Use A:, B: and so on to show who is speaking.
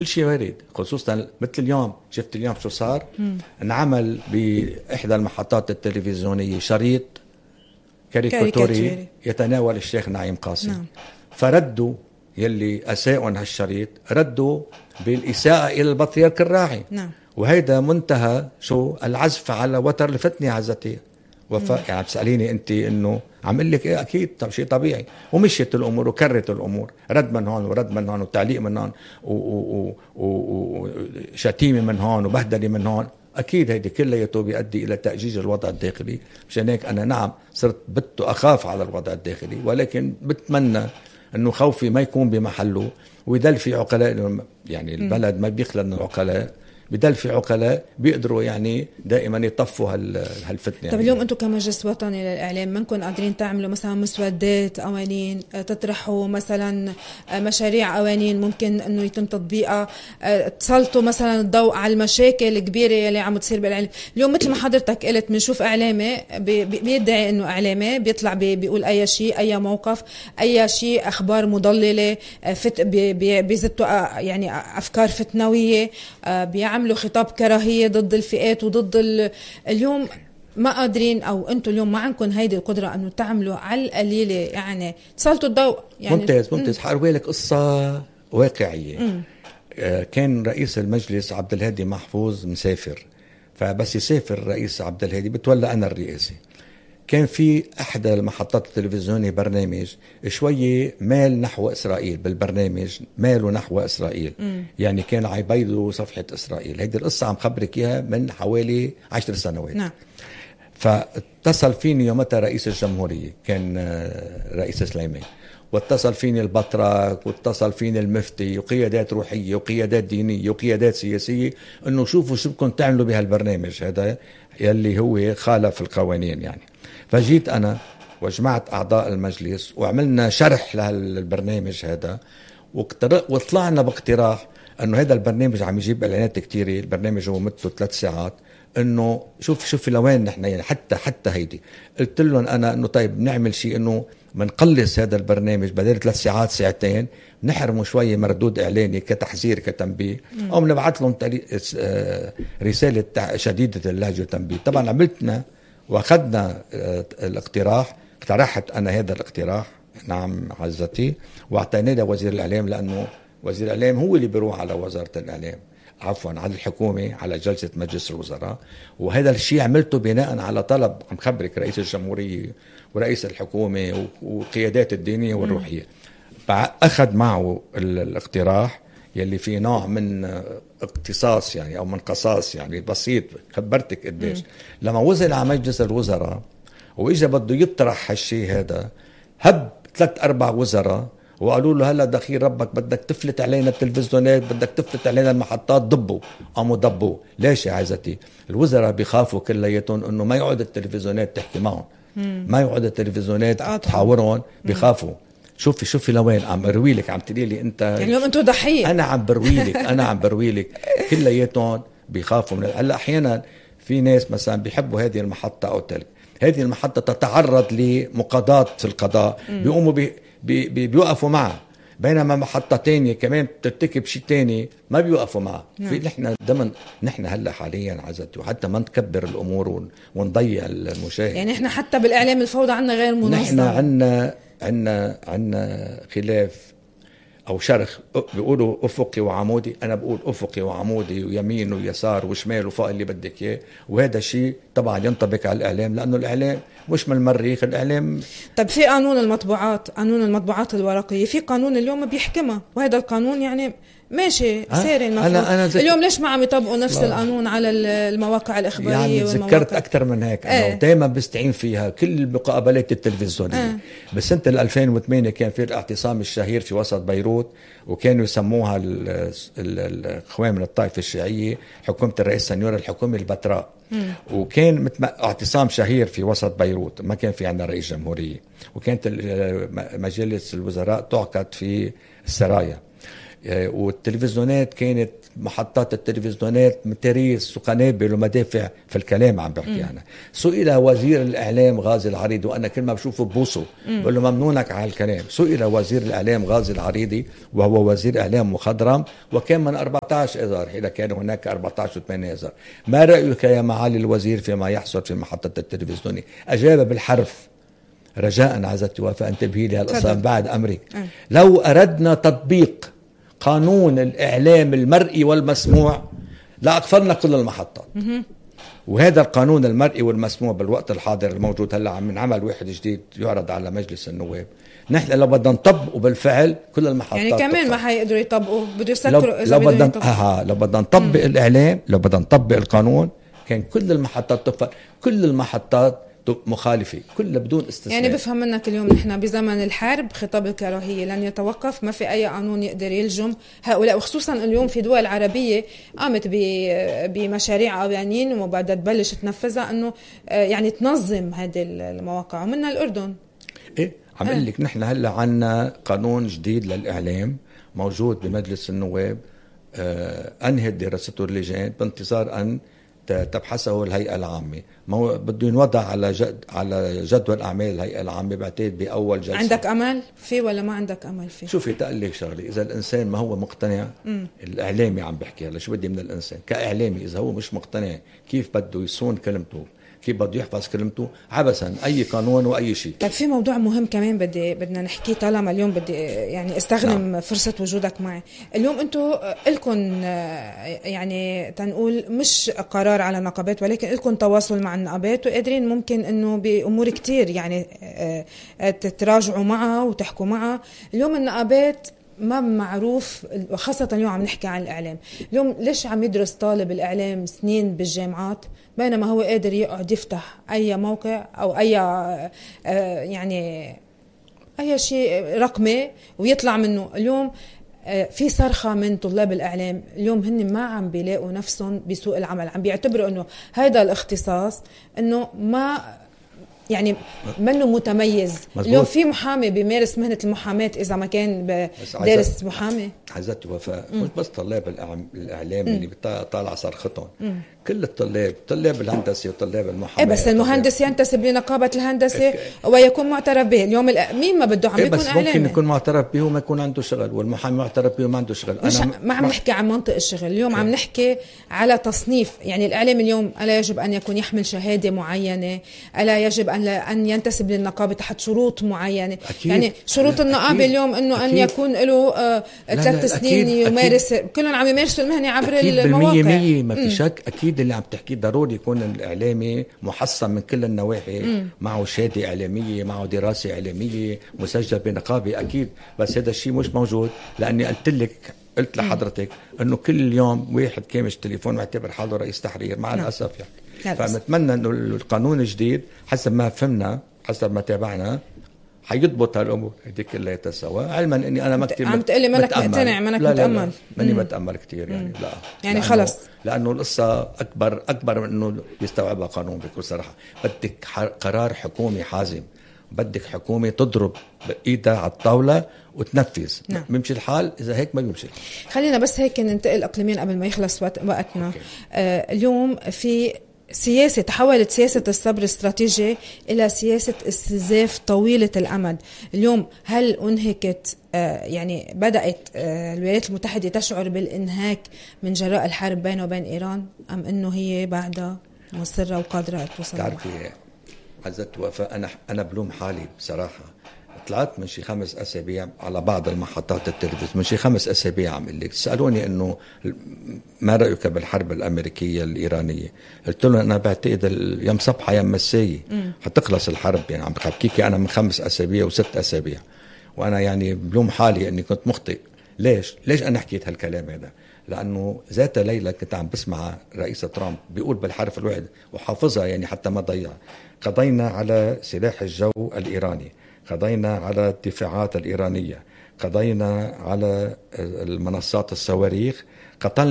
A: كل شيء وارد، خصوصا مثل اليوم. شفت اليوم شو صار؟ انعمل بإحدى المحطات التلفزيونية شريط كاريكاتوري يتناول الشيخ نعيم قاسم.
B: نعم.
A: فردوا يلي أساءوا هالشريط، ردوا بالإساءة إلى البطريرك الراعي.
B: نعم.
A: وهيدا منتهى شو العزف على وتر الفتنة عزتي. يعني بتسأليني أنت إنه عمل لك إيه؟ أكيد شيء طبيعي. ومشيت الأمور وكرت الأمور، رد من هون ورد من هون وتعليق من هون وشتيمة من هون وبهدلة من هون. أكيد هيدي كلياته بيؤدي إلى تأجيج الوضع الداخلي. مشان هيك أنا نعم صرت أخاف على الوضع الداخلي، ولكن بتمنى إنه خوفي ما يكون بمحله، ويدل في عقلاء. يعني البلد ما بيخلى من العقلاء، بدل في عقلاء بيقدروا يعني دائما يطفوا هالفتنة.
B: طب اليوم انتم كمجلس وطني للإعلام منكم قادرين تعملوا مثلا مسودات قوانين، تطرحوا مثلا مشاريع قوانين ممكن انه يتم تطبيقها، تسلطوا مثلا الضوء على المشاكل الكبيرة اللي عم تصير بالإعلام؟ اليوم مثل ما حضرتك قلت بنشوف إعلامي بيدعي انه إعلامي بيطلع بيقول اي شيء، اي موقف، اي شيء، اخبار مضللة، بيزتوا يعني افكار فتنوية، بيعملوا خطاب كراهية ضد الفئات وضد اليوم ما قادرين، او انتم اليوم ما عندكم هيدي القدرة انه تعملوا على القليلة يعني تسلطوا الضوء يعني.
A: ممتاز. حأروي لك قصة واقعية. كان رئيس المجلس عبد الهادي محفوظ مسافر، فبس يسافر رئيس عبد الهادي بتولى أنا الرئاسة. كان في أحد المحطات التلفزيونية برنامج شوية مال نحو إسرائيل، بالبرنامج ماله نحو إسرائيل. يعني كان عيبيدوا صفحة إسرائيل. هيدي القصة عم خبرك إياها من حوالي 10 سنوات.
B: نعم.
A: فاتصل فيني يومتها رئيس الجمهورية، كان رئيس سليمان، واتصل فيني البطرك، واتصل فيني المفتي، وقيادات روحية وقيادات دينية وقيادات سياسية، انه شوفوا شو بدكم تعملوا بهالبرنامج هذا يلي هو خالف القوانين يعني. فجيت أنا وجمعت أعضاء المجلس وعملنا شرح لهالبرنامج هذا، وطلعنا باقتراح أنه هذا البرنامج عم يجيب إعلانات كتيرة. البرنامج هو مدته 3 ساعات. أنه شوف لوين نحن يعني حتى هيدي. قلت لهم أنا أنه طيب نعمل شيء أنه منقلص هذا البرنامج بدل 3 ساعات 2 ساعات، نحرموا شوية مردود إعلاني كتحذير كتنبيه، أو نبعث لهم رسالة شديدة اللهجة وتنبيه. طبعا عملتنا واخذنا الاقتراح، اقترحت انا هذا الاقتراح نعم عزتي، واعطيناه لوزير الاعلام، لانه وزير الاعلام هو اللي بيروح على وزارة الاعلام، عفوا على الحكومة، على جلسة مجلس الوزراء. وهذا الشيء عملته بناء على طلب عم خبرك رئيس الجمهورية ورئيس الحكومة وقيادات الدينية والروحية. فأخذ معه الاقتراح يلي فيه نوع من اقتصاص يعني او من قصاص يعني بسيط. خبرتك قديش لما وصل على مجلس الوزراء واجا بده يطرح هالشيء هذا، هب 3-4 وزراء وقالوا له هلا دخيل ربك بدك تفلت علينا التلفزيونات، بدك تفلت علينا المحطات، ضبوا. قاموا ضبوا. ليش يا عزتي؟ الوزراء بيخافوا كلياتهم انه ما يقعد التلفزيونات تحكي معهم، ما يقعد التلفزيونات تحاورهم، بيخافوا. شوفي لوين عم بروي لك، عم تقولي لي انت
B: يعني اليوم انتم ضحيه.
A: انا عم بروي لك كلياتهم بيخافوا من هلا. احيانا في ناس مثلا بيحبوا هذه المحطه او تلك، هذه المحطه تتعرض لمقاضاه في القضاء، بيقوموا بيوقفوا معها، بينما محطه تانية كمان بترتكب شيء تاني ما بيوقفوا معها. في نحن هلا حاليا عزتي، وحتى ما نكبر الامور ونضيع المشاهد.
B: يعني احنا حتى بالاعلام الفوضى عنا غير منظم.
A: نحن عنا خلاف او شرخ. بيقولوا افقي وعمودي، انا بقول افقي وعمودي ويمين ويسار وشمال وفوق اللي بدك اياه. وهذا شيء طبعا ينطبق على الاعلام، لانه الاعلام مش من المريخ. الاعلام
B: طب في قانون المطبوعات الورقيه، في قانون اليوم بيحكمها، وهذا القانون يعني ماشي ساري المفروض. اليوم ليش ما عم يطبقوا نفس القانون على المواقع الإخبارية؟
A: يعني ذكرت أكثر من هيك. أنا دائما بستعين فيها كل المقابلات التلفزيونية. بسنة 2008 كان في الاعتصام الشهير في وسط بيروت، وكانوا يسموها الإخوان من الطائفة الشيعية حكومة الرئيس سنيور الحكومة البتراء. وكان اعتصام شهير في وسط بيروت، ما كان في عندنا رئيس جمهورية، وكانت مجلس الوزراء تعقد في السرايا. والتلفزيونات كانت محطات التلفزيونات متاريس وقنابل ومدافع في الكلام عم بحكي أنا. سئل وزير الإعلام غازي العريضي، وأنا كل ما بشوفه ببوسه بقول له ممنونك على الكلام. سئل وزير الإعلام غازي العريضي وهو وزير إعلام مخضرم وكان من 14 إذار، إذا كان هناك 14 و8 إذار، ما رأيك يا معالي الوزير فيما يحصل في محطة التلفزيون؟ أجاب بالحرف. رجاء عزتي وفاء انتبهي لي هالقصة بعد أمرك. لو أردنا تطبيق قانون الإعلام المرئي والمسموع لأقفلنا كل المحطات. وهذا القانون المرئي والمسموع بالوقت الحاضر الموجود هلا عم نعمل واحد جديد يعرض على مجلس النواب. نحن لو بدنا نطبقه بالفعل كل المحطات
B: يعني كمان ما حيقدروا يطبقوا، بده يسكروا إذا
A: لو بدنا نطبق الإعلام، لو بدنا نطبق القانون كان كل المحطات تقفل، كل المحطات مخالفة كلها بدون استثناء. يعني
B: بفهم منك اليوم نحن بزمن الحرب خطاب الكراهية لن يتوقف، ما في أي قانون يقدر يلجم هؤلاء، وخصوصا اليوم في دول عربية قامت بمشاريع قوانين وبدها تبلش تنفذها أنه يعني تنظم هذه المواقع، ومنها الأردن.
A: إيه عم أقول لك نحن هلا عنا قانون جديد للإعلام موجود بمجلس النواب، أنهت دراسته اللجان بانتظار أن تبحثه الهيئة العامة. بده ينوضع على جدول أعمال الهيئة العامة بعتقد بأول جلسة.
B: عندك أمل فيه ولا ما عندك أمل فيه؟
A: شوفي تقلك شغلي، إذا الإنسان ما هو مقتنع، الإعلامي عم بحكي هلا، شو بدي من الإنسان كإعلامي؟ إذا هو مش مقتنع كيف بده يصون كلمته، كيف بده يحفظ كلمته، عبثا أي قانون وأي شيء.
B: طيب في موضوع مهم كمان بدنا نحكيه طالما اليوم بدي يعني استخدم فرصة وجودك معي. اليوم انتم لكم يعني تنقول مش قرار على النقابات، ولكن لكم تواصل مع النقابات وقادرين ممكن انه بأمور كتير يعني تتراجعوا معها وتحكوا معها. اليوم النقابات ما معروف، خاصة اليوم عم نحكي عن الإعلام. اليوم ليش عم يدرس طالب الإعلام سنين بالجامعات بينما هو قادر يقعد يفتح أي موقع أو أي يعني أي شيء رقمي ويطلع منه؟ اليوم في صرخة من طلاب الإعلام، اليوم هن ما عم بيلاقوا نفسهم بسوق العمل، عم بيعتبروا أنه هذا الاختصاص أنه ما يعني منه متميز. مزبوط. اليوم في محامي بيمارس مهنة المحاماة إذا ما كان دارس محامي.
A: عزتي وفاء مش بس طلاب الإعلام اللي بيطالع صرختهم، كل الطلاب، طلاب الهندسة وطلاب المحاماة.
B: بس المهندس ينتسب لنقابة الهندسة ويكون معترف به. اليوم مين ما بده عم يكون
A: بس إعلامي، ممكن يكون معترف به وما يكون عنده شغل، والمحامي معترف به وما عنده شغل.
B: أنا ما عم نحكي عن منطق الشغل اليوم، عم نحكي على تصنيف. يعني الإعلام اليوم ألا يجب أن يكون يحمل شهادة معينة، ألا يجب أن ينتسب للنقابة تحت شروط معينة. أكيد. يعني شروط النقابة اليوم أنه أن يكون له 3 سنين يمارس، كلهم عم يمارسوا المهنة عبر المواقع.
A: ما في شك. أكيد اللي عم تحكيه ضروري يكون الإعلامي محصن من كل النواحي، معه شهادة إعلامية، معه دراسة إعلامية، مسجل بنقابة أكيد. بس هذا الشيء مش موجود، لأني قلت لحضرتك أنه كل يوم واحد كامش تليفون معتبر حاله رئيس تحرير مع الأسف يعني. فنتمنى أنه القانون الجديد حسب ما فهمنا، حسب ما تابعنا، حيضبط هالأمور هذه كلها سوا، علما أني أنا ما كتير
B: عم تقلي منك مقتنع، منك متأمل.
A: ماني بتأمل كتير يعني. لا
B: يعني خلص،
A: لأنه القصة أكبر من أنه يستوعبها قانون. بكل صراحة بدك قرار حكومي حازم، بدك حكومة تضرب بإيدها على الطاولة وتنفذ. بيمشي الحال، إذا هيك ما بيمشي.
B: خلينا بس هيك ننتقل إقليميا قبل ما يخلص وقتنا. اليوم في سياسة، تحولت سياسة الصبر الاستراتيجي إلى سياسة استنزاف طويلة الأمد. اليوم هل أنهكت يعني بدأت الولايات المتحدة تشعر بالإنهاك من جراء الحرب بينه وبين إيران، أم أنه هي بعدها مصرة وقادرة توصل؟
A: تعرفي عزت وفاء، أنا بلوم حالي بصراحة. طلعت من شي 5 أسابيع على بعض المحطات التلفزيون، من شي 5 أسابيع عم قلك سألوني إنه ما رأيك بالحرب الأمريكية الإيرانية؟ قلت لهم أنا بعتقد يوم صبحة يوم مساية حتخلص الحرب. يعني عم بحكيكي أنا من 5 أسابيع و6 أسابيع، وأنا يعني بلوم حالي إني كنت مخطئ. ليش أنا حكيت هالكلام هذا؟ لأنه ذات ليلة كنت عم بسمع رئيس ترامب بيقول بالحرف الواحد وحافظها يعني حتى ما ضيع: قضينا على سلاح الجو الإيراني، قضينا على الدفاعات الإيرانية، قضينا على المنصات الصواريخ، قتلنا